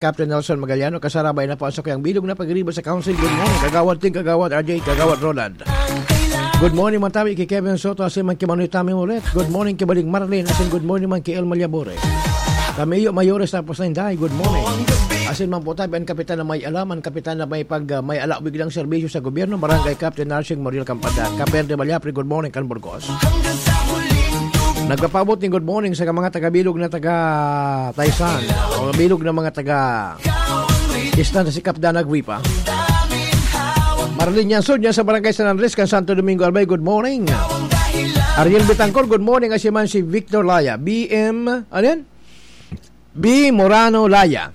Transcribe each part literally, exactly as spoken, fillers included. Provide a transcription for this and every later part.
Captain Nelson Magaliano, kasarabay na po ang sakuyang bilog na pagriba sa Council. Good morning, Kagawad Ting, Kagawad R J, Kagawad Roland. Good morning, mga tabi, kay Kevin Soto, asin man ki Manoy Tami Moret. Good morning, kay Baling Marlene, asin good morning man ki El Malyabore. Kami iyo, Mayores, tapos na Inday, good morning. Asin man po tabi, ang kapitan na may alam, ang kapitan na may pag, ah, may ala, biglang serbisyo sa gobyerno, Barangay Captain Narsing Moriel Campadan. Kaper de Balyapre, good morning, kan Burgos. Nagpapaabot ning good morning sa mga taga-bilog na taga Taysan, o bilog na mga taga Isla na si Capdan Agripa. Marlene Yansud niya sa Barangay San Andres, kan Santo Domingo, Albay, good morning. Ariel Betancor, good morning. Asin man si Victor Laya, B M, ano yan? B Morano Laya.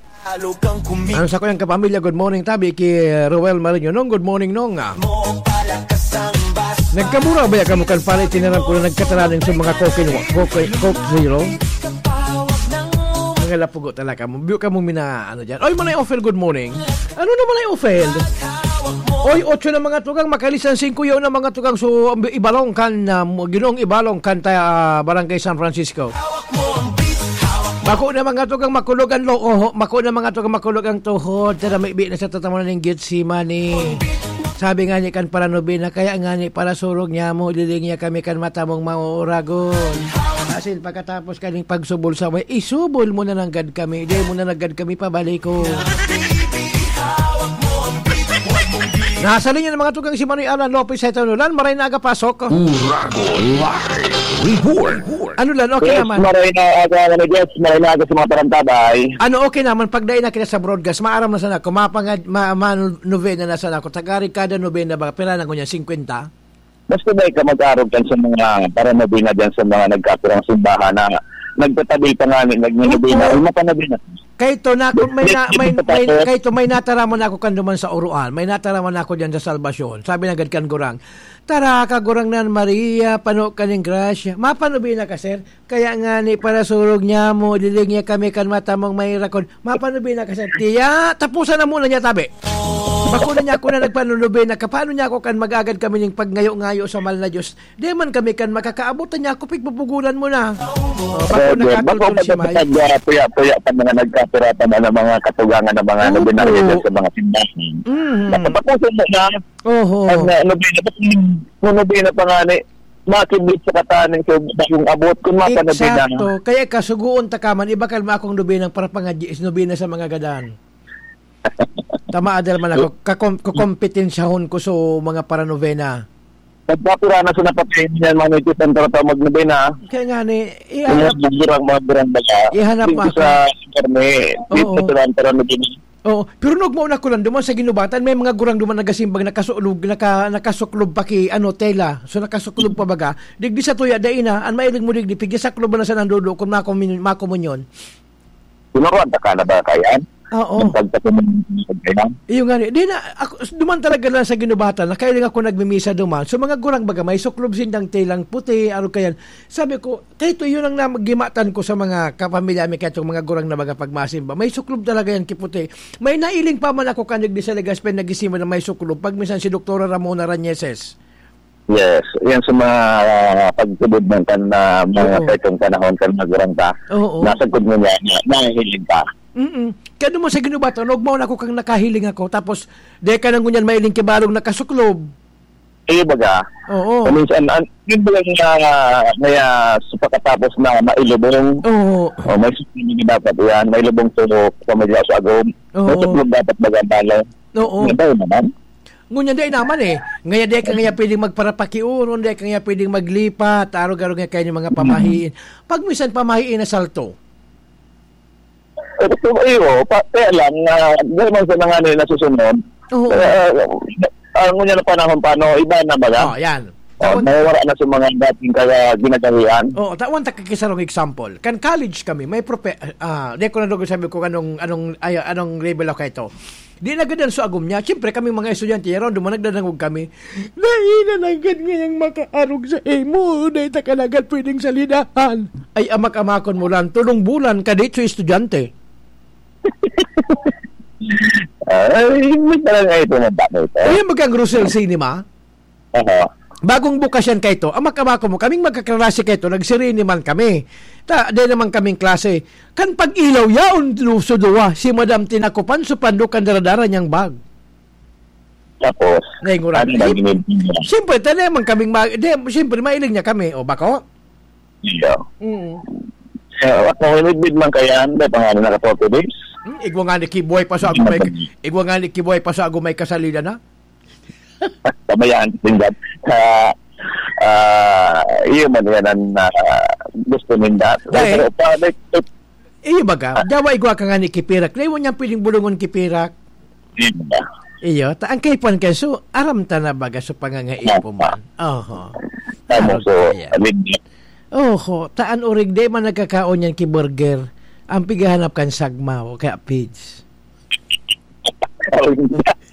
Ang sakuyang kapamilya, good morning, tabi ki Roel Marino. Nong, good morning, Nong, ah. Nagkamura ba ya kamo kan pare, tinaram ko na nagkatalaning sa mga Coke, Coke, Coke Zero? Ang lapugo talaga mo. Biyo ka mo mina, ano dyan. Oy, Manay Ofel, good morning. Ano na, Manay Ofel? Oy, otso na mga tugang, makalisan singko yaw na mga tugang. So, ibalong kan, ah, ginong ibalong kan ta, ah, Barangay San Francisco. Bako na mga tugang makulog ang loob, bako na mga tugang makulog ang tuhod, tara, may bi na sa tatamunan ning Getsemani. Sabi nga ni kan paranobena, kaya nga ni parasurog niya mo, liling niya kami kan matamong mauragon. Asin pagkatapos kaning pagsubol sa way, isubol mo na nanggad kami, di mo na nanggad kami pabaliko. Nasa linya ng mga tugang si Manoy Alan Lopez sa Itanulan, maray na aga pasok. Uragon Live Report. Ano lang, okay Yes, naman. Maray na aga, ano, yes, maray na aga sa mga tarantabay. Ano, okay naman, pag dai na kita sa broadcast, maaram na sana ako, mapangad, ma, ma, novena na sana ako, tagari kada novena ba, pira na ko niya, singkwenta? Basta ba ka mag-arog kan sa mga paranobena dyan sa mga nagkapirang simbahan na nagtatabi pa nga, nagninobena, Opo. Ay, mapanobena. Kay to, na, kung may na, may, may, kay to, may nataraman ako kan duman sa Oroan, may nataraman ako diyan sa Salvacion. Sabi na gad kan gurang, "Tara, Kagurangnan Maria, pano ka ning grasya." "Mapanobena ka, sir?" "Kaya nga ni, parasurog niya mo, liling niya kami kan matamong may rakon." "Mapanobena ka, sir?" Tiya, tapusan na muna niya, tabi. Bako na niya ako na nagpanunobena ka, paano niya ako kan mag-agad kami ning pagngayo-ngayo sa mahal na Diyos? Di man kami kan makakaabot, niya ako, pigbubugulan mo na. Oh, bako Brother, bako nakatulog si May. Magkakapag-, ah, puya-puya pa mga nagkapiratan na mga katugangan na mga Opo. Nobinaryo dyan sa mga simbahan. Mhm. Napatapusan mo na. Oho. Ang, ah, nobena, ba't yung nobena pa nga ni, makibit sa kataning sa bagong abot, kung mapanobena. Eksakto. Kaya kasugoon ta ka man, ibakal mo akong nobenang parapangadyi, is nobena sa mga gadan. Tama, adal man ako, kakom-, kakompetensyahon ko sa mga paranovena. Nagpapira na sa napatay niyan, mga nagtitan para tao magnobena. Kaya nga ni, Kaya ihanap, mga gurang, mga gurang baga. Ihanap Dito mo ako. Sa Carme, dito Oo. Sa Taran, para nobena. Oo, pero nagmao na ko lang duman sa ginubatan, may mga gurang duman nagasimbag, nakasuklog, naka-, nakasuklog pa ki, ano, tela. So, nakasuklog pa baga. Digdi sa tuya, dai na, an mailing mo digdi, pigya saklob na sa nandudo, kung makomun-, makomunyon. Tinuruan ta ka na ba, Kayan? Oo. Nagpagpatuloy na sa kailan? Iyo nga ni. Di na, ako, duman talaga lang sa ginubatan, nakailing ako nagmimisa duman. So, mga gurang baga, may suklob sindang telang puti, ano kayan. Sabi ko, "Kaya ito, yun ang nam-, gimatan ko sa mga kapamilya mi, kaya itong mga gurang na mga pagmasimba. May suklob talaga yan, kiputi." May nailing pa man ako kanig di sa Legazpi, nagisima na may suklob. Pag minsan si Doktora Ramona Rañeses. Yes, yan sa mga, ah, pagtubod ng kan, ah, mga Oo. Sa itong panahon kan nagurang ka. Oo. Nasagkod mo niya, na, nahihiling ka. Mm-mm. Kaya duman sa ginubatan, nagmao na ako kang nakahiling ako. Tapos, di ka nang ngunyan mailing kibarong nakasuklob. Iyo baga. Oo. Paminsan, an-, yun ba yung, ah, kaya sa pagkatapos na mailubong? Oo. O, may suklob na dapat yan. Mailubong sa pamilya sa agom. Oo. May suklob dapat baga ang balo. Oo. May bayo naman. Ngunyan, dai naman eh. Ngaya, dai ka ngaya pwedeng magparapakiuron, dai ka ngaya pwedeng maglipat, arog-arog nga kayo yung mga pamahiin. Pag minsan pamahiin na salto. Ito, iyo, pa, kaya lang, ah, dahil man sa mga ano yung nasusunod, Oo. Ah, ah, ngunyan na panahon pa, no, iba na baga? Oh, yan. Oh, Tawan- nawawala na sa mga dating kaya ginagawian. Oo, tawan ta kakisarong example. Kan college kami, may prope-, ah, di ko na doon sabi ko anong, anong, ay, anong level ako ito. Di nagadan sa agom niya. Siyempre, kami mga estudyante, yaron, duman nagdadangog kami. "Dai na nanggad ngayang makaarog sa imo, dai ta ka nanggad pwedeng salidahan." Ay, amak-amakon mo lang, tulong bulan ka dito, estudyante. Ay, hindi pa lang ito ng dami ito. Ay, yung bagang Rosel Cinema? Aha. bagong bukasyan kaito, ang makabako mo, kaming magkaklase kaito, nagsireni man kami. Ta, di naman kaming klase. Kan pag-ilaw, yaon, du-, so duwa, si Madam Tinakupan, so pando kan daradara niyang bag. Tapos, Nainguran. ano na ginibig niya? Siyempre, tayo naman kaming, ma- di, siyempre, mailing niya kami. O, bako? Iya. Mm. Eh, ako, inibig man kaya, hindi pa nga na naka-forty days. Hmm, igwa nga ni Kibuhay pa sa agumay, igwa nga ni Kibuhay pa sa agumay kasalida na. Pabayaan ko din dyan. Sa, ah, iyo man yan ang ah, gusto ninda. Dahil- Pero pa, like, Iyo baga, dawa igwa ka nga ni Kipirak. Naiwan niyang piling bulungon Kipirak. hindi ba? Iyo, ta ang kaipan kayo, so, aram ta na baga sa pangangaipo man. Oho. Tama, Arog so, kaya. Amin, Oho, taan orig di man nagkakaon yan ki burger. Ang pigahanap kan sagmaw, kaya pids.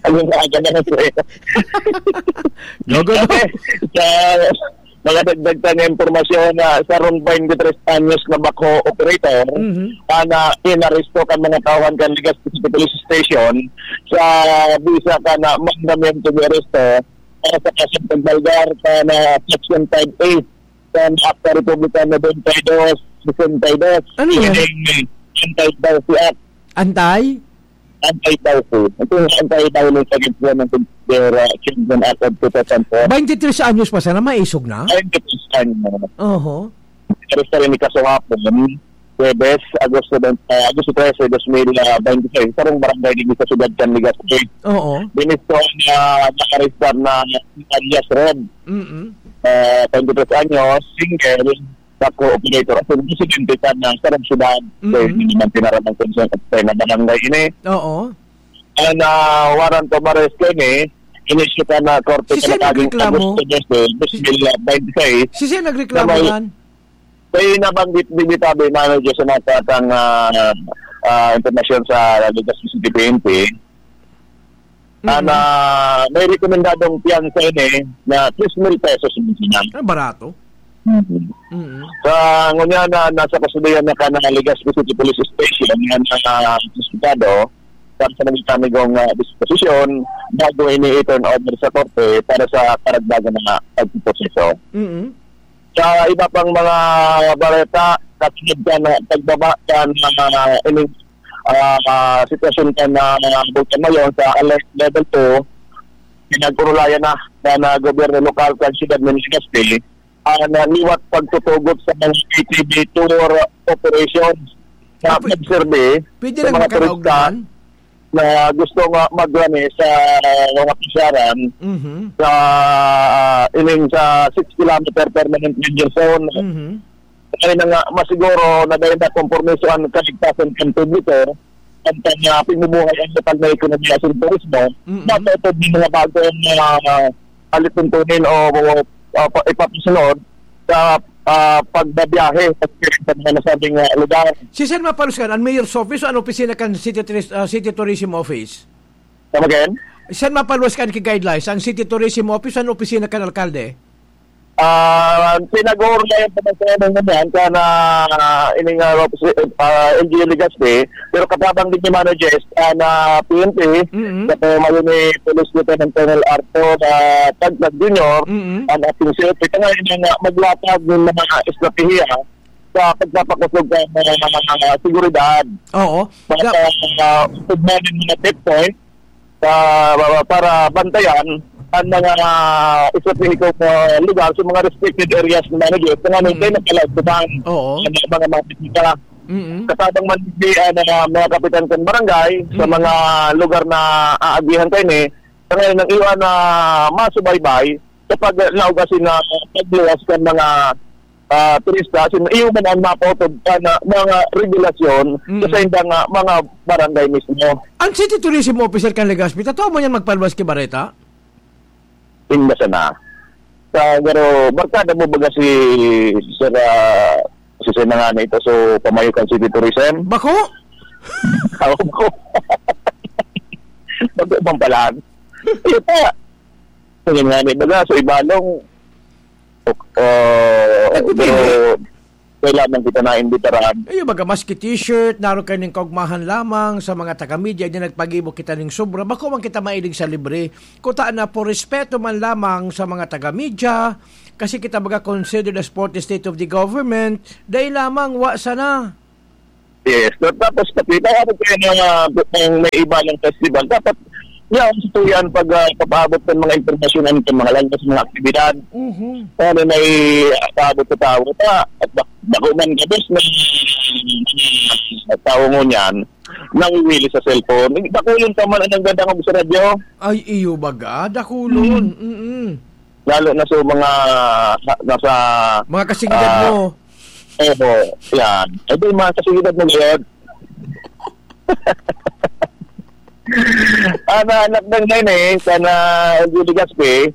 Ang aga na, sir. Go, go, go. Okay. Sa mga dagdag ta nga impormasyon, na sarong twenty-three anyos na backhoe operator, Mhm. ana, inaresto kan mga tauhan kan Legazpi City Police Station sa bisa kan mandamiento de arresto para sa kasong pagbalgar kan Section five A kan Akta Republika ninety-two sixty-two. Ano yan? Anti-Dowry Act. Antay? Anti-Dowry. Ito yung anti-violence against women consider uh, children Act of two thousand four. Twenty-three anyos pa sana, maisog na? Ayun, ito yung ano. Oho. Aresto rin ni kaso hapon, Huwebes, Agosto, uh, Agosto trese, dos mil twenty-five, sa sarong barangay dito sa siyudad kan Legazpi. Oo. Binisto na nakaregister na alias Red, Mm-mm. uh, twenty-three anyos, single, backhoe operator. At yung presidente ka na sa sarong siyudad, Mm-mm. kaya hindi naman tinaramang konsensya na barangay ini. Oo. Ang ah, warrant of arrest ko ini, inisyu ka na korte Si Sen ka na kaging nagreklamo? Agosto dose, dos mil twenty-six. Si Sen nagreklamo May- yan? Kaya nabanggit ni Bitabe Manager sa mga katang ah, ah, impormasyon sa Legazpi City P N P, Mm. na may rekomendadong piyansa ini na tres mil pesos ang sinang. Ah, barato. Mhm. Mm. Sa ngunya na nasa kustodiya na ka ng Legazpi City Police Station, yan ang uh, investigado para sa nagkamigong uh, disposisyon bago ini i-turn over sa korte para sa karagdagan na pagpuproseso. Mm. Sa iba pang mga bareta, kasunod ka na pagbaba ka na uh, ining uh, uh, sitwasyon ka na uh, Bulkan Mayon sa alert level two, pinag-urulayan na na, na gobyerno lokal kan siyudad ng Legazpi ang uh, liwat pagtutugot sa mga K T V tour operations na Ah, pwe- pagserbi Pwede sa lang mga magkanaog turista naman? na gusto nga maglani sa mga pasyaran Mhm. sa uh, ining sa six kilometer permanent danger zone. Mhm. Kaya na nga masiguro na dahil na kompromiso ang kaligtasan ng publiko, ang kanya pagbubuhay ang lokal na ekonomiya sa turismo, Mm-mm. dapat ito din mga bagong uh, alituntunin o uh, pa- ipapasunod sa uh, pagbabiyahe sa mga nasabing uh, lugar. Si Sen mapaluskan, ang mayor's office o ang opisina kan City, Touris- ah, City Tourism Office? Come again? Sen mapaluskan ki guidelines, ang City Tourism Office o ang opisina kan alkalde? Ah, pinag-uurlayan pa man sa mga yan ka na uh, ining uh, uh, L G U Legazpi, pero katabang din ni Mano Jess uh, na P N P, Mm-mm. sa pamayo ni Police Lieutenant Colonel Arthur uh, Tagtag Junior, Mm-mm. ang ating C F P, kaya nga maglatag ng mga estratehiya sa pagpapakusog ng mga, mga, mga seguridad Oo. para Ga- uh, ugnayan ng mga checkpoint sa, para bantayan ang mga estratehico uh, lugar sa mga restricted areas ng managers na nga Mm. nagkaya nagkalaagtutan Oo. ng mga mga bisita. Mm-mm. Katabang man di uh, ng mga kapitan ng barangay sa Mm. mga lugar na aagihan kayo ni, sa ngayon ang iwan na masubaybay sa paglaog asin na pagluwas ng mga ah, turista, sin iyo man ang mapautog ka na mga regulasyon Mm. sa saindang ah, mga barangay mismo. Ang City Tourism Officer kan Legazpi, totoo mo yan magpalwas ki Bareta? Inda sana. Sa pero barkada mo baga si Sir ah, si Sir na nga na ito, so pamayo kan City Tourism? Bako? Ako ko. Bago bang palaan? Ito. Kung nga ni baga, so ibalong uh, Nagpipili? pero kaya lamang kita naimbitaran. Iyo, baga maski t-shirt, naro kayo ning kaugmahan lamang sa mga taga-media, di nagpagibo kita ning sobra. Bako man kita mailig sa libre. Kuta na, por respeto man lamang sa mga taga-media, kasi kita baga considered as fourth estate of the government, dai lamang, wa sana. Yes, so, tapos pati, paabot kayo ng, ah, ng may iba ng festival. Dapat, yan, sa tuyan, pag, ah, papaabot ng mga impormasyon, ano, sa mga lalo sa mga aktibidad. Mhm. Ano, may paabot sa tao. Ta, at bak-, bako man, gabos na tao ngunyan, nangiwili sa cellphone. Dakulon pa man ang nagdadangog sa radyo. Ay, iyo baga, dakulon. Mm. Mm-mm. Lalo na sa mga, sa, nasa, Mga kasigidad ah, mo. Oho, yan. Eh, di, mga kasigidad mo, Lord. Ana, anak ng nene, sana Judy Gaspi,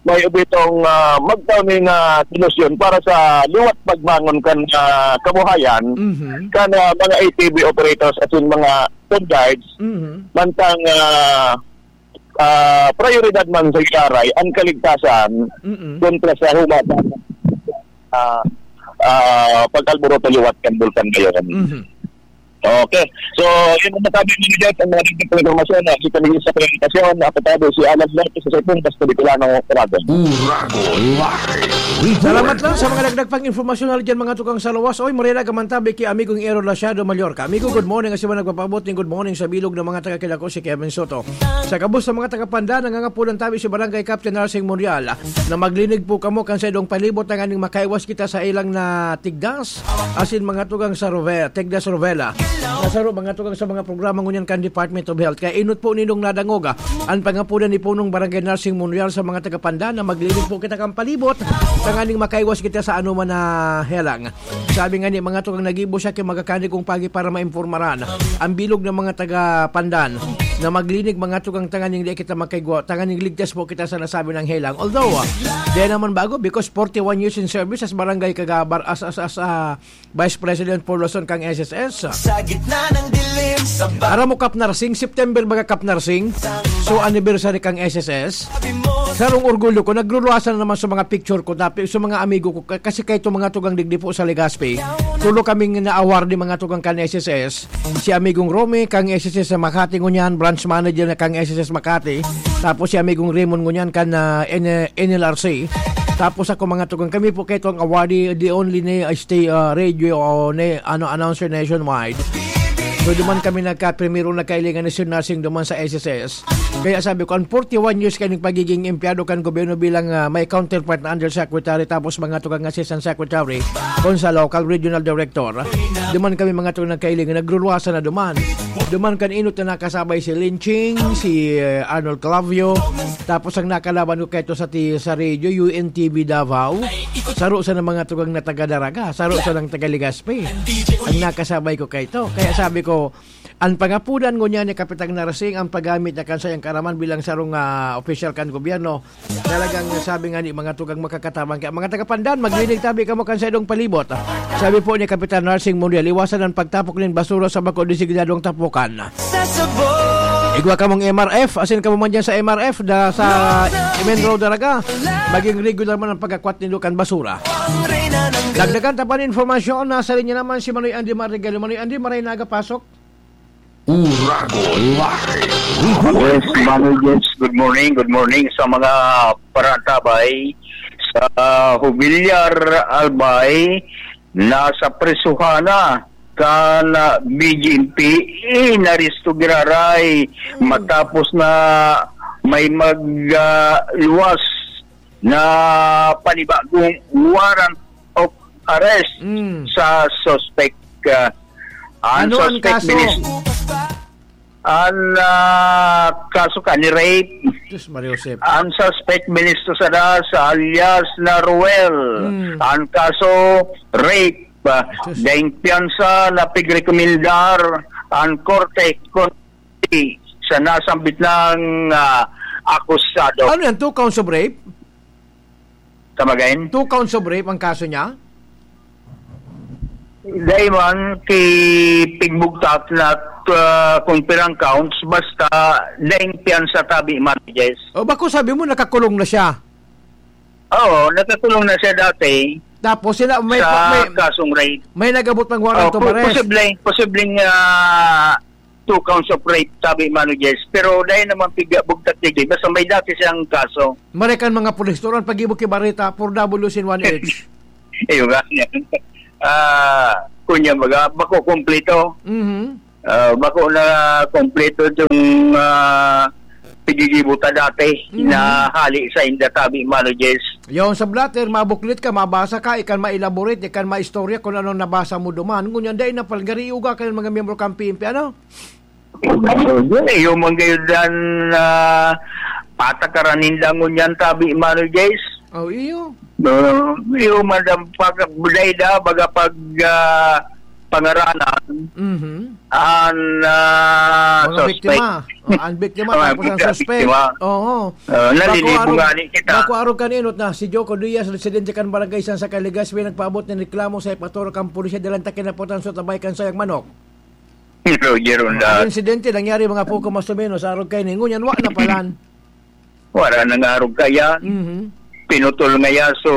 may ubitong, ah, magtao ning, ah, solusyon para sa liwat pagbangon kan, ah, kabuhayan, Mhm. kan, ah, mga A T V operators asin mga tour guides, Mhm. mantang, ah, ah, prioridad man sa giraray ang kaligtasan Mm-mm. kontra sa huma sa, ah, ah, pag-alboroto liwat kan Bulkan Gayon. Mhm. Okay. So, yun ang masabi ni Jeff, ang mga dagdag na impormasyon na kita naging sa presentasyon, na apatado si Alan Lopez sa Saipong, Basta Bicolano, Uragon. Uragon Live Report. Salamat lang sa mga dagdag pang impormasyon na dyan, mga tukang sa lawas. Oy, Morena, gamantabi ki amigong Ero Lasiado, Mallorca. Amigo, good morning. Kasi ba nagpapaabot ng good morning sa bilog ng mga taga Kidako, si Kevin Soto. Sa gabos sa mga taga Pandan, nangangapulan tabi si Barangay Captain Narsing Monreal na maglinig po kamo kan sa idong palibot, tanganing makaiwas kita sa ilang na tigdas, asin mga tugang sa Rove-, tigdas Rovela. Nasaro mga tugang sa mga programa ngunyan kan Department of Health. Kaya inot po ninong nadangoga an pangapulan ni Punong Barangay Narsing Monreal sa mga taga Pandan na maglinig po kita kan palibot, tanganing makaiwas kita sa anoman na helang. Sabi nga ni mga tugang, nagibo siya ki magakani kong pagi para maimpormaran ang bilog ng mga taga Pandan na maglinig mga tugang, tanganing di kita makaigwa, tanganing ligtas po kita sa nasabi ng helang. Although, ah, di naman bago because forty-one years in service as barangay kagabar, as, as, as, ah, Vice President for Luzon kang S S S. Sa gitna ng dilim, sa ba- Aram mo, Kap Narsing, September baga, Kap Narsing? So, anniversary kang S S S. Sarong orgulyo ko, nagluluwasan na naman sa mga picture ko, tapi-, sa mga amigo ko, ka-, kasi kaito mga tugang digdi po sa Legazpi, tulo kaming na-award ni mga tugang kan S S S. Si amigong Romy, kang S S S sa Makati ngunyan, branch manager na kang S S S Makati. Tapos si amigong Raymond ngunyan, kan, ah, N-, N L R C. Tapos ako, mga tugang, kami po kaito ang awardee, the only na stay, ah, radio o na, ano, announcer nationwide. So, duman kami nagka-, primero nagkailingan ni Sir Narsing duman sa S S S. Kaya sabi ko, ang forty-one years kayo ng pagiging empleyado kan gobyerno bilang, ah, may counterpart na undersecretary, tapos mga tugang assistant secretary, kung sa local regional director. Duman kami mga tugang nagkailingan, nagluluwasan na duman. Duman kan inot na nakasabay si Lin Ching, si, eh, Arnold Clavio, tapos ang nakalaban ko kaito sa ti-, sa radio, U N T V Davao. Saro sa mga tugang na taga Daraga, saro sa ng taga Legazpi. Ang nakasabay ko kaito. Kaya sabi ko, ang pangapudan ngunyan ni Kapitang Narsing, ang paggamit niya kan sayang karaman bilang sarong, ah, opisyal kan gobyerno. Talagang sabi nga ni mga tugang makakatabang. Kaya mga taga Pandan, maglinig tabi kamo kan sa idong palibot. Sabi po ni Kapitan Narsing Monreal, iwasan ang pagtapok nin basura sa bako designadong tapukan. Sa sabon. Igwa kamong M R F, asin kamo man dyan sa M R F, da, sa Main Road, Daraga. Maging regular man ang pagkakwat nindo kan basura. Dagdagan ta pa nin informasyon, nasa linya naman si Manoy Andy Marigalo. Manoy Andy, maray na aga, pasok. Uragon Live Report. Yes, Manoy James, good morning, good morning sa mga parantabay sa Jubilar Albay. Nasa prisuhan na kan, ah, B J M P, inaresto giraray matapos na may mag, ah, luwas na panibagong warrant of arrest Mm. sa suspect. Ah, ang Ano ang suspect kaso? minis-, ang, ah, kaso ka ni rape. Diyos, Maria Josep. Ang suspect, Ministro Sadas, alias na Ruel. Mm. Ang kaso, rape. Ah, Diyos. Daing piyansa na pigrekomendar ang korte kontra sa nasambit ng, ah, akusado. Ano yan? Two counts of rape? Come again? Two counts of rape ang kaso niya? Dai man ki pigbugtak na, ah, kung pirang counts, basta daing piyansa tabi man, yes. O, bako sabi mo, nakakulong na siya? Oo, nakakulong na siya dati. Tapos sila may, sa may, kasong rape. May nag-abot ng warrant Oh, of pu-, arrest. Posibleng, posibleng, ah, two counts of rape, sabi Mano Jess. Pero dahil naman piga bugtak digdi, basta may dati siyang kaso. Maray kan mga pulis, turon pag-ibo ki bareta, four double in one each. Ayun nga. Ah, kunya baga, bako kompleto. Mhm. Ah, bako na kompleto itong, ah, pigigibo ta dati Mhm. na hali sa inda, tabi, Mano Jess. Yung sa blotter, mabuklit ka, mabasa ka, ikan ma-elaborate, ikan maistorya kung anong nabasa mo duman. Ngunyan, dai na palgari, uga ka ng mga miyembro kan P N P, ano? Iyo man kayo dan, ah, patakaran ninda ngunyan, tabi, Mano Jess. Oh, iyo. No, iyo man ang pag-, dai da, baga pag, ah, pangaranan, Mhm. an, ah, Mga suspect. biktima. Oh, ang biktima, Mga tapos ang biktima. suspect. Oo. Ah, nalilibo Bako arog, nga ni kita. bako arog kan inot na si Joko Diaz, residente kan Barangay San Saka, Legazpi, nagpaabot ng reklamo sa epatoro kan pulisya dalan ta kinapotan sa tabay kan sayang manok. Roger Ang Ronda. insidente nangyari mga poko mas o menos, arog kaini. Ngunyan, wa na palan. Wala nang arog kaya. Mhm. Pinutol ngaya so,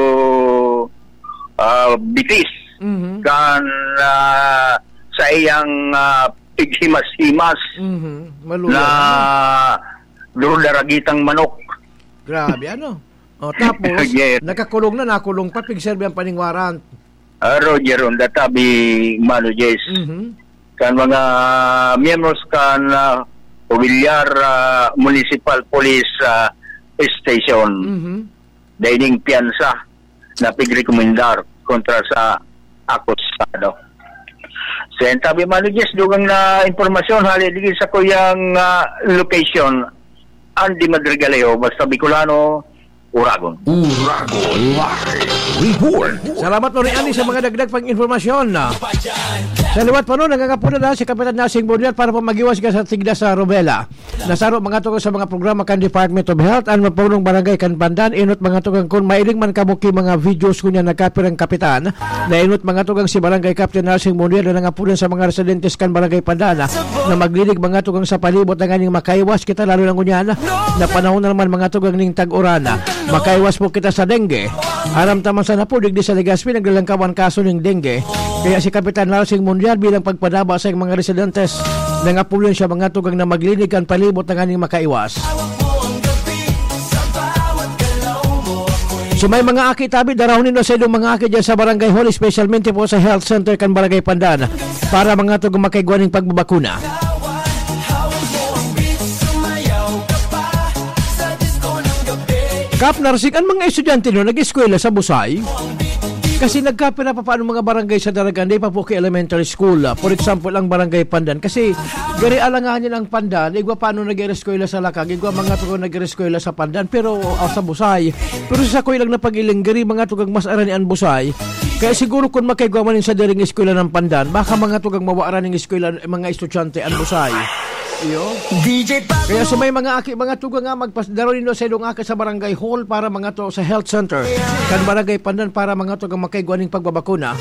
ah, bitis Mhm. kan, ah, sa iyang, ah, pighimas-himas Mhm. Maluya na na. Duro daragitang manok. Grabe, ano? Oh, tapos, Yes. nakakulong na, nakulong pa, pigserbi ang paning warrant. Ah, Roger Ronda, tabi, Mano Jess. Mhm. Kan mga miyembros kan, ah, Villar, ah, Municipal Police, ah, Station. Mhm. Daining piyansa na pigrekomendar kontra sa akusado. Sa tabi, Mano Jess, dugang na impormasyon, hali digdi sa kuyang, ah, location, Andy Madrigaleo, basta Bicolano, Uragon. Uragon Live Report. Salamat, Lori Andy, sa mga dagdag pang impormasyon. Sa liwat pa nun, nangangapuna na si Kapitan Nasing Bonyar para po mag-iwas ka sa tigda sa Robela. Nasaro mga tugon sa mga programa kan Department of Health, an mapunong barangay kan Pandan, inot mga tugang kun mailing man kamo ki mga videos kunya nagkapirang kapitan. Nainot mga tugang si Barangay Captain Nasing Bonyar na nangapunan sa mga residentes kan Barangay Pandan na maglinig mga tugang sa palibot na nganing makaiwas kita lalo na ngunyan na panahon na naman mga tugang ning tag-uran. Makaiwas po kita sa dengue. Aram ta man sana po, digdi sa Legazpi, naglalangkawan kaso ning dengue. Kaya si Kapitan Narsing Mundial bilang pagpadaba sa mga residentes, nangapuyon siya mga tugang na maglinig kan palibot na nganing makaiwas. So may mga aki tabi, darahon nindo sa inyong mga aki dyan sa Barangay Hall, especialmente po sa Health Center kan Barangay Pandan, para mga tugang makaigwa ning pagbabakuna. Kap Narsing, an mga estudyante no nag-eskwela sa Busay? Kasi nagkapira pa paano mga barangay sa Daragan, di pa po kay elementary school. Ah, for example, ang barangay Pandan. Kasi gari alanganin ang Pandan, igwa paano nag-eskwela sa Lakag, igwa mga tugon nag-eskwela sa Pandan, pero ah, sa Busay. Pero sa sakoy lang na pag-iling, gari mga tugang mas arani an Busay. Kaya siguro kung makaigwa man sa diring eskwela ng Pandan, baka mga tugang mawaaran ng eskwela, mga estudyante, an Busay. Iyo. D J Pablo. Kaya sa may mga aki, mga tugang nga, magpasdaro nindo sa ilong aki sa barangay hall para mga to sa health center. Kan barangay Pandan para mga tugang makaigwa ning pagbabakuna.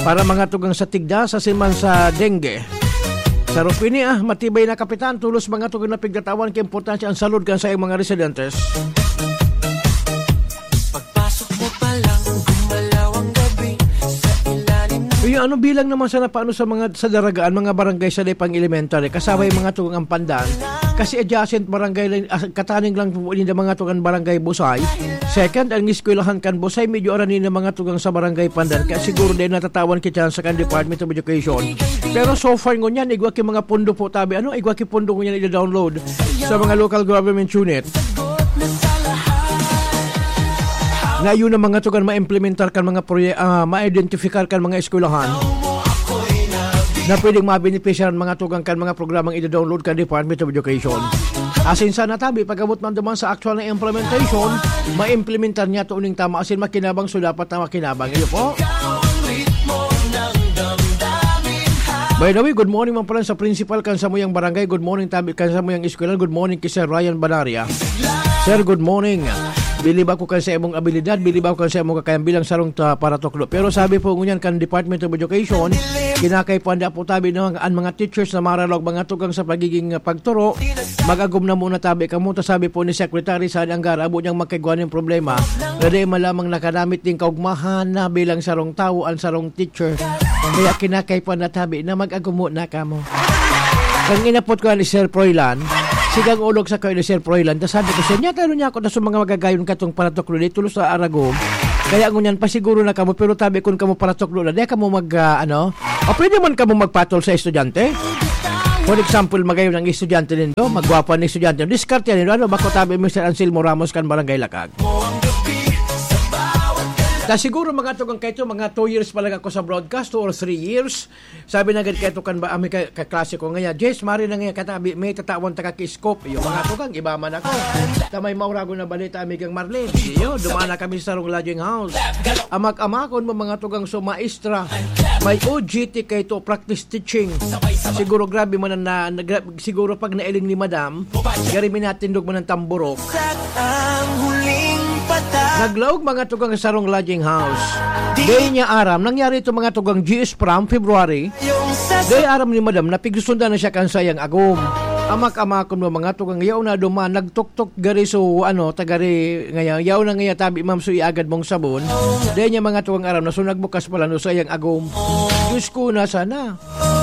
Para mga tugang sa tigda, sa siman sa dengue. Sa Rupini, ah, matibay na kapitan, tulos mga tugang na pigtatawan kay importansya ang salud kan sa mga residentes. Pagpasok mo pa lang, gumalaw ang gabi sa ilalim ng Uy, ano bilang naman sana paano sa mga, sa Daragaan, mga barangay sa Depang Elementary, kasabay mga tugang ang Pandan? Kasi adjacent barangay lang, ah, kataning lang po ninda mga tugang barangay Busay. Second, ang eskwelahan kan Busay, medyo arani na mga tugang sa barangay Pandan. Kaya siguro din natatawan kita sa kan Department of Education. Pero so far ngunyan, igwa ki mga pondo po tabi, ano, igwa ki pondo ngunyan i-download sa mga local government unit. Na yun ang mga tugan ma-implementar kan mga proye-, ah, ma-identifikar kan mga eskwelahan na pwedeng mabenepisyaran mga tugang kan mga programang ida-download kan Department of Education. Asin sana tabi, pag-abot man duman sa actual na implementation, ma-implementar niya to uning tama, asin makinabang, so dapat na makinabang. Iyo po. By the way, good morning man pala sa principal kan samuyang barangay. Good morning tabi kan samuyang eskwelahan. Good morning kay Sir Ryan Banaria. Sir, good morning. Bilib ako kan sa imong abilidad, bilib ako kan sa imong kakayan bilang sarong ta-, paratukdo. Pero sabi po ngunyan kan Department of Education, kinakaipuhan na po tabi no, ang, ang mga teachers na maralaog mga tugang sa pagiging, ah, pagturo, mag-agom na muna tabi kamo. Ta sabi po ni Secretary Sani Angara, abo niyang magkaigwa nin problema, na di man lamang nakanamit din kaugmahan na bilang sarong tawo ang sarong teacher. Kaya kinakaipuhan na tabi na mag-agom muna kamo. Kan inapot ko ni Sir Froilan, sigang ulog sa kayo ni Sir Froilan. Ta sabi ko, "Sir, niya, tayo niya ako, ta sa mga magagayon katong paratukdo dito sa Aragom. Kaya ngunyan, pasiguro na kamo, pero tabi kun kamo paratukdo na, di kamo mag, ah, ano, o pwede man kamo magpatol sa estudyante. For example, magayon ang estudyante nindo, magwapa ang estudyante. Diskarte nindo, ano, bako tabi, Mister Anselmo Ramos kan Barangay Lakag." Ta siguro mga tugang kaito, mga two years pa lang ako sa broadcast, two or three years. Sabi na gad kaito kan ba, ami ka, kaklase ko ngaya, "Jess, mari na ngaya katabi, may tatawan ta ka ki-scoop." Iyo, mga tugang, iba man ako. Ta may mauragon na balita, amigang Marlene. Iyo, duman na kami sa sarong lodging house. Amak-amakon mo, mga tugang, so maestra. May O G T kaito, practice teaching. Siguro grabe man ang na, na, gra-, siguro pag nailing ni madam, gari minatindog man ang tamburok. Ang huling patay. Naglaog mga tugang sa sarong lodging house. Di niya aram, nangyari ito mga tugang G S from February. Yung sa Di aram ni madam na pigsusundan na siya kan sayang agom. Amak-amakon mo mga tugang, yaw na duman, nagtuktok gari so, ano, tagari, ngaya, yaw na ngaya tabi, ma'am, so iagad mong sabon. Di niya mga tugang aram na so nagbukas pala no sayang agom. Diyos ko, na sana.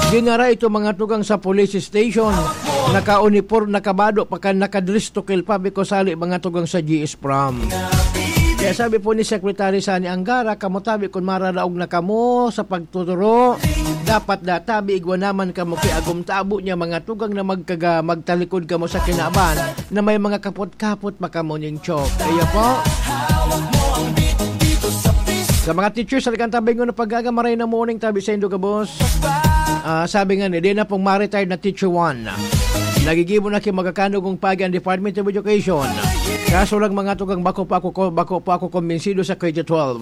Dinara ito mga tugang sa police station. Naka-uniform, nakabado pa kan, nakadress to kill pa, because sali mga tugang sa G S prom. Kaya sabi po ni Secretary Sani Angara, "Kamo tabi kun mararaog na kamo sa pagtuturo, dapat da tabi igwa naman kamo ki agom tabo niya mga tugang na magkaga-, magtalikod kamo sa kinaban na may mga kapot-kapot pa kamo ning chok." Kaya po, sa mga teachers, talagang tabi ngunyan pag-aga, maray na morning, tabi sa indo gabos. Ah, sabi nga ni, di na pong ma-retired na teacher one. Nagigibo na ki magkakanugong pagi ang Department of Education. Kaso lang mga tugang, bako pa ako ko, bako pa ako kumbinsido sa K to twelve.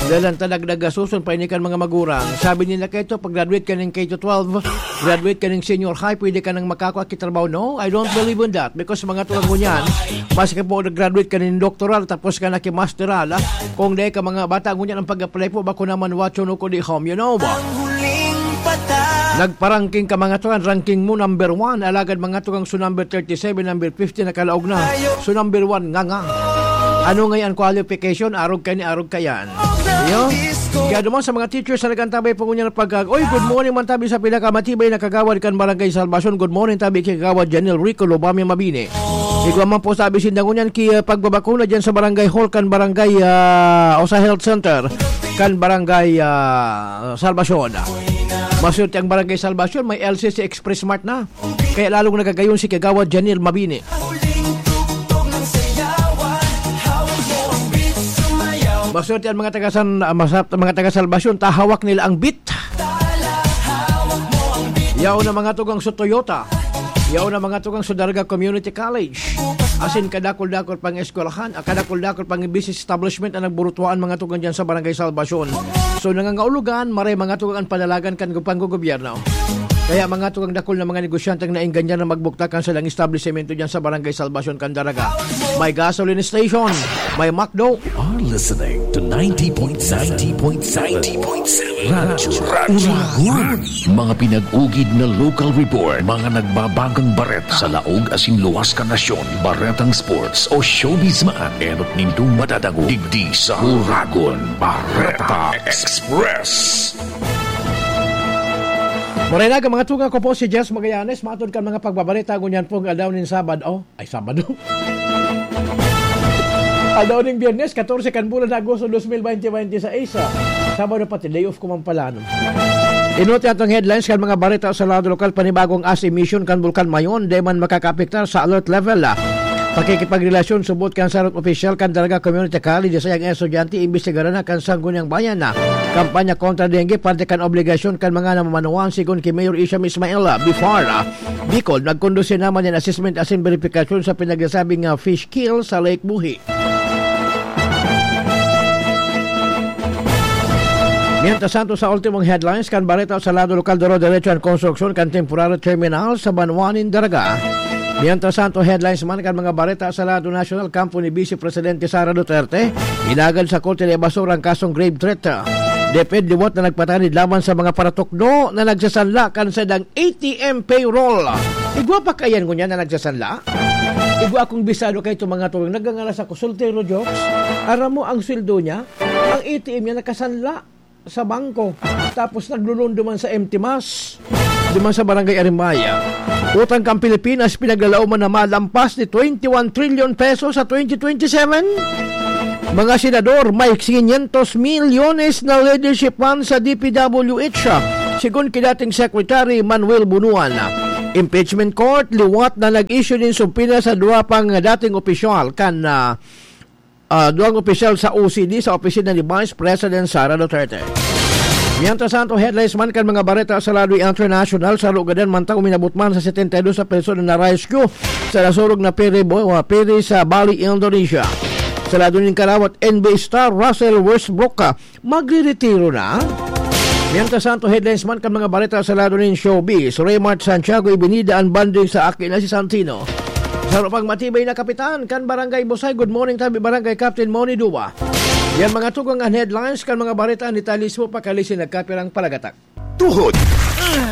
Dahil ang tanagdag gasuson pa ini kan mga magurang. Sabi nila kaito, pag graduate ka ng K to twelve, graduate ka ng senior high, pwede ka nang makakua ki trabaho. No, I don't believe in that. Because mga tugang ngunyan, maski po nag-graduate ka ng doctoral, tapos ka na ki masteral, ah, kung dai ka mga bata ngunyan ang pag-apply po, bako naman wacho no ko di home, you know ba? Nagparangking ka mga tugang, ranking mo number one, alagad mga tugang so number thirty-seven, number fifty, nakalaog na. So number one, nga nga. Ano nga yan qualification? Arog ka ni arog ka yan. Yo? Kaya duman sa mga teachers na nag-antabay po ngunyan pag, "Oy, good morning man tabi sa pinakamatibay na kagawad kan Barangay Salvacion. Good morning tabi kay Kagawad Janel Rico Lobamia Mabini." Igwa man po sabi sinda ngunyan ki, ah, pagbabakuna dyan sa barangay hall kan barangay, ah, o sa health center kan barangay, ah, Salvacion. Maswerte ang barangay Salvacion, may L C C Express Mart na. Kaya lalong nagagayon si Kagawad Janil Mabini. Maswerte ang mga taga San, ah, masa-, mga taga Salvacion, ta hawak nila ang beat. Yaon na mga tugang sa Toyota. Yaon na mga tugang sa Daraga Community College. Asin kadakol-dakol pang eskwelahan, ah, kadakol-dakol pang business establishment ang nagburutuaan mga tugang dyan sa Barangay Salvacion. So, nangangaulogan, maray mga tugang ang panalagan kan gu-, panggogobyerno. Kaya mga tugang dakol na mga negosyanteng naengganyan na magbuktak kan salang establisemento dyan sa Barangay Salvacion, Candaraga. May gasoline station, may McDo. Are listening to ninety point seven. Ninety point seven. Radyo Uragon. Mga pinag-ugid na local report, mga nagbabagang bareta sa laog asin luwas kan nasyon, baretang sports o showbiz man, enot nindong madadangog digdi sa Uragon Bareta Express. Maray na, mga tugang, ako po si Jess Magallanes, matod kan mga pagbabareta ngunyan pong aldaw nin Sabado. Ay, Sabado. Aldaw ning Biyernes, katorse kan bulan na Agosto, dos mil bente, bente seis, ah. Sabado pati, day off ko man pala, no? Inot atong headlines kan mga bareta sa lado lokal, panibagong ash emission kan Bulkan Mayon, di man makakaapektar sa alert level, ah. Pakikipagrelasyon, subot kan sarong opisyal kan Daraga Community College, sa iyang estudyante, imbestigaran na kan Sangguniang Bayan na kampanya kontra dengue, parte kan obligasyon kan mga namamanuan, sigon ki Mayor Isham Ismail, ah, Bifar, ah. Bicol, nagkondusir naman nin assessment asin beripikasyon sa pinagsasabing, ah, fish kill sa Lake Buhi. Mientras tanto, sa ultimong headlines kan bareta sa lado lokal, doro-derecho an konstruksyon kan temporary terminal sa banwa nin Daraga. Mientras tanto, headlines man kan mga bareta sa lado nasyonal, kampo ni Vice Presidente Sara Duterte, inagad sa Korte de Basura ang kasong grave threat. DepEd liwat na nagpatanid laban sa mga paratukdo na nagsasanla kan saindang A T M payroll. Igwa pa kayan ngunyan na nagsasanla? Igwa akong bisado kay itong mga tugang nagangalas ako, soltero jokes. Aram mo ang sweldo niya? Ang A T M niya nakasanla sa bangko, tapos naglulundo man sa M T mas, duman sa Barangay Arimbaya. Utang kan Pilipinas pinaglalaoman na malampas ni twenty-one trillion pesos sa twenty twenty-seven. Mga senador, may quinientos milyones na leadership fund sa D P W H, sigon ki dating Secretary Manuel Bunuan. Impeachment Court, liwat na nag-issue nin subpoena sa duwa pang dating opisyal kan, ah, ah, duwang opisyal sa O C D sa opisina ni Vice President Sara Duterte. Mientras tanto, headlines man kan mga bareta sa lado international, sa lugadan man ta uminabot man sa setenta y dos na persona na rescue sa nasurog na peri, bo-, ah, peri sa Bali, Indonesia. Sa lado nin karawat, N B A star Russell Westbrook, ah, magreretiro na. Mientras tanto, headlines man kan mga bareta sa lado nin showbiz. Raymart Santiago, ibinida an banding sa aki na si Santino. Sa pang matibay na kapitan kan Barangay Busay, good morning tabi Barangay Captain Moni Duba. Yan mga tugang an headlines kan mga bareta ni Talismo Pakalisin nagkapirang palagatak. Tuhod,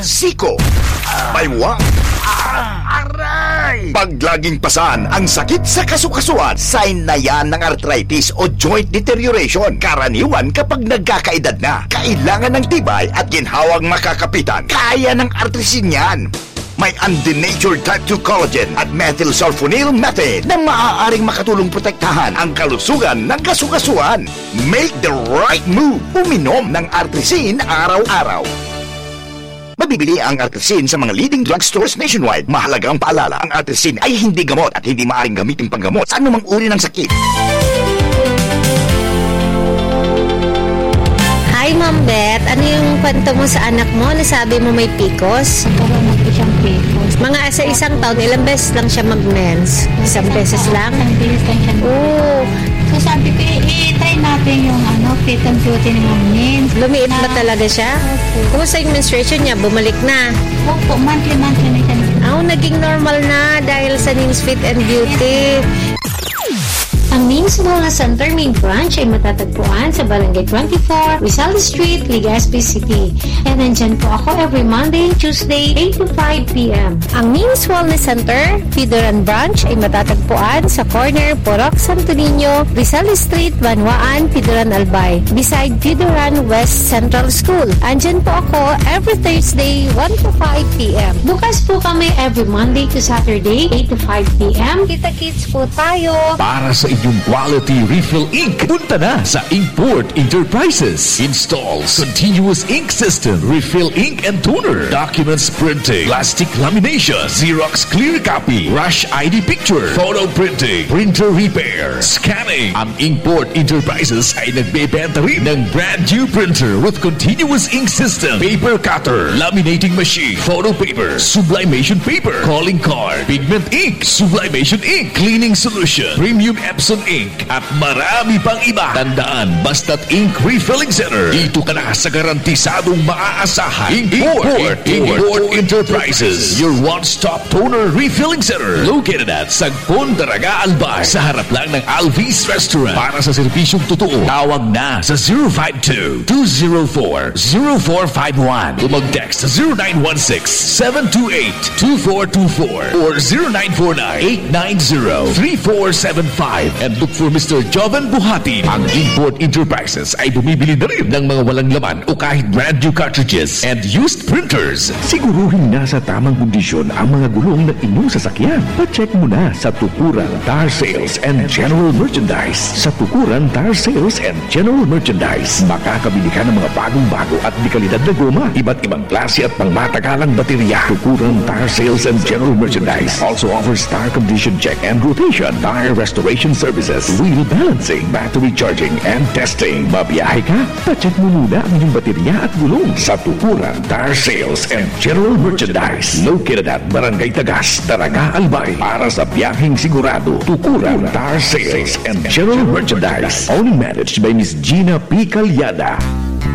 siko, baywa, aray! Pag laging pasan ang sakit sa kasukasuan, sign na yan ng arthritis o joint deterioration. Karaniwan kapag nagkakaedad na, kailangan ng tibay at ginhawang makakapitan. Kaya ng Artrisin yan. May undenatured type two collagen at methylsulfonyl methane na maaaring makatulong protektahan ang kalusugan ng kasukasuan. Make the right move. Uminom ng Artrisin araw-araw. Mabibili ang Artrisin sa mga leading drugstores nationwide. Mahalagang paalala, ang Artrisin ay hindi gamot at hindi maaaring gamitin panggamot sa anumang uri ng sakit. Hi, Ma'am Beth. Ano yung kwento mo sa anak mo? Nasabi mo may picos? Nagkaroon na po siyang picos. Mga sa isang taon, ilang beses lang siya mag-mens? Isang beses lang? Isang beses lang siya. Oo. So, sabi ko, "I-, i-try natin yung, ano, fit and beauty ni Ma'am Nins." Lumiit ba Na talaga siya? Opo. Kumusta yung menstruation niya? Bumalik na? Opo, monthly-monthly na siya. Ah, naging normal na dahil sa Nins Fit and Beauty. Ang Nins Wellness Center main branch ay matatagpuan sa Barangay twenty-four, Rizal Street, Legazpi City. And nandyan po ako every Monday and Tuesday, eight to five p m. Ang Nins Wellness Center, Pidoran Branch, ay matatagpuan sa corner Purok Santo Niño, Rizal Street, Banwaan, Pidoran, Albay, beside Pidoran West Central School. Andyan po ako every Thursday, one to five p m. Bukas po kami every Monday to Saturday, eight to five p m. Kita-kits po tayo. Para sa inyong quality refill ink, punta na sa Inkport Enterprises. Installs continuous ink system, refill ink and toner, documents printing, plastic lamination, Xerox clear copy, rush I D picture, photo printing, printer repair, scanning. Ang Inkport Enterprises ay nagbebenta rin ng brand new printer with continuous ink system, paper cutter, laminating machine, photo paper, sublimation paper, calling card, pigment ink, sublimation ink, cleaning solution, premium Epson ink, at marami pang iba. Tandaan, basta't ink refilling center, dito ka na sa garantisadong maaasahan. Import, Import, Import Enterprises, your one-stop toner refilling center, located at Sagpon, Daraga, Albay, sa harap lang ng Alvis Restaurant. Para sa serbisyong totoo, tawag na sa zero five two, two zero four, zero four five one o mag-text sa zero nine one six, seven two eight, two four two four or zero nine four nine, eight nine zero, three four seven five and look for Mister Joven Buhatin. Ang Import Enterprises ay bumibili na rin ng mga walang laman o kahit brand new cartridges and used printers. Siguruhing nasa tamang kondisyon ang mga gulong ng inyong sasakyan. Pa-check mo na sa Tukuran Tire Sales and General Merchandise. Sa Tukuran Tire Sales and General Merchandise, makakabili ka ng mga bagong-bago at dekalidad na goma, iba't ibang klase at pangmatagalang baterya. Tukuran Tire Sales and General Merchandise also offers tire condition check and rotation, tire restoration services, wheel balancing, battery charging, and testing. Babiyahe ka? Pa-check mo muna ang iyong baterya at gulong sa Tukuran Tire Sales and General Merchandise. Located at Barangay Tagas, Daraga, Albay. Para sa biyaheng sigurado, Tukuran Tire Sales and General Merchandise. Owned and managed by Miss Gina P. Calyada.